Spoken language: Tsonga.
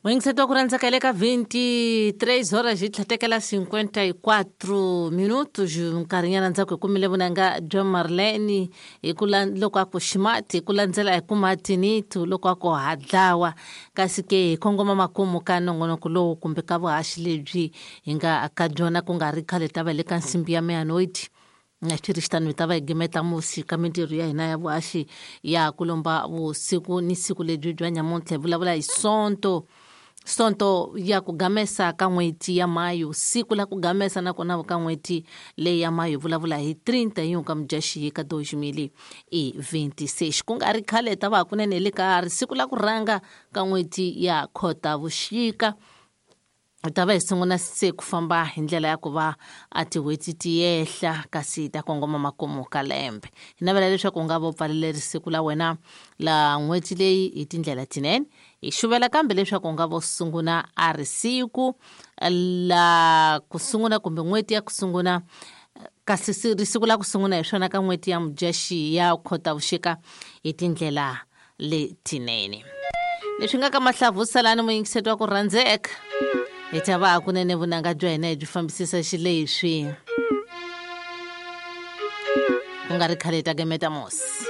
Muyingiseti wa ku rhandza ka le ka 23 horas hi tlhatekela 54 minutos. Nkarhinyana ndzhaku hi kumile vunanga bya Marlene hi ku loko a ku ximati hi ku landzela hi ku matinitu loko a ku ha dlawa. Kasi ke hi kongoma makumu ka nongonoko lowu kumbe ka vuhaxi lebyi hi nga ka byona ku nga ri khale ta va le ka nsimbi ya meanoidi na swi ri xitano hi ta va hi gimeta musi ka mintirho ya hina ya vuhaxi ya ku lomba vusiku ni siku lebyi bya nyamuntlha. Hi vulavula hi Sonto, Sonto ya ku gamesa ka n'hweti ya Mayo, siku la ku gamesa nakona ka n'hweti leyi ya Mayo. Hi vulavula hi 31 ka Mudyaxihi ka 2026. Ku nga ri khale hi ta va hakunene hi le ka ri siku la ku rhanga ka n'hweti ya Khotavuxika. Hi ta va hi sungula se ku famba hi ndlela ya ku va a tin'hweti ti yehla kasi hi ta kongoma makumu ka lembe. Hi navela leswaku u nga va u pfalele risiku la wena la n'hweti leyi hi tindlela tinene. Hi xuvela kambe leswaku u nga va u sungula a risiku la ku sungula kumbe n'hweti ya ku sungula, kasi risiku la ku sungula hi swona ka n'hweti ya Mudyaxihi ya Khotavuxika hi tindlela letinene. Leswi nga ka mahlavu salani muyingiseti wa ku rhandzeka, hi ta va hakunene vunanga bya hina hi byi fambisisa xileswi. Ku nga ri khale hi ta gemeta musi.